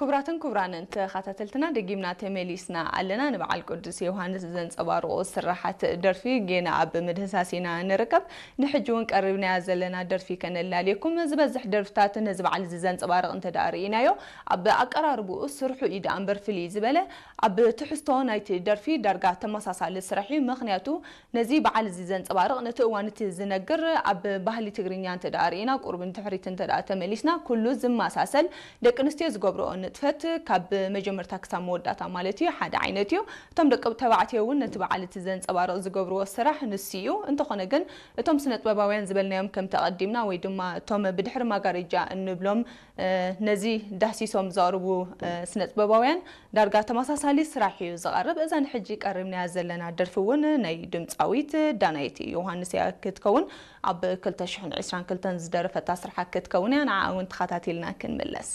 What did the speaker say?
ክቡራትን ክቡራንን ተኸታተልትና፣ ደጊምና ተመሊስና ኣለና። ንበዓል ቅዱስ ዮሃንስ ዘንጸባርቑ ስራሓት ደርፊ ጌና ኣብ ምድህሳስ ኢና ንርከብ። ንሕጂ እውን ቀሪብናያ ዘለና ደርፊ ከነላልየኩም። ዝበዝሕ ደርፍታት ነዚ በዓል እዚ ዘንጸባርቕ እንተ ደኣ ርኢናዮ፣ ኣብ ኣቀራርብኡ ስርሑ እዩ ደኣ እምበር ፍልይ ዝበለ፣ ኣብ ትሕዝቶ ናይቲ ደርፊ ዳርጋ ተመሳሳሊ ስራሕ እዩ። ምኽንያቱ ነዚ በዓል እዚ ዘንጸባርቕ፣ ነቲ እዋን እቲ ዝነግር፣ ኣብ ባህሊ ትግርኛ እንተ ደኣ ርኢና፣ ቁሩብ ንድሕሪት እንተ ደኣ ተመሊስና፣ ኩሉ ዝመሳሰል፣ ደቂ ኣንስትዮ ዝገብርኦ ንጥፈት ካብ መጀመርታ ክሳብ መወዳእታ ማለት እዩ፣ ሓደ ዓይነት እዩ። እቶም ደቂ ተባዕትዮ እውን ነቲ በዓል እቲ ዘንጸባርቕ ዝገብርዎ ስራሕ ንሱ እዩ። እንተኾነ ግን፣ እቶም ስነ ጥበባውያን ዝበልናዮም ከም ተቐዲምና ወይ ድማ እቶም ብድሕሪ ማጋረጃ እንብሎም፣ እ፣ ነዚ ዳህሲሶም ዘቕርቡ፣ እ፣ ስነ ጥበባውያን ዳርጋ ተመሳሳሊ ስራሕ እዩ ዝቐርብ። እዛ ንሕጂ ቀሪብናያ ዘለና ደርፊ እውን ናይ ድምጻዊት ዳናይት ዮሃንስ እያ ክትከውን። ኣብ ክልተ ሽሕን ዕስራን ክልተን ዝደረፈታ ስራሕ ክትከውን እያ። ንዓ እውን ተኸታቲልና ክንምለስ።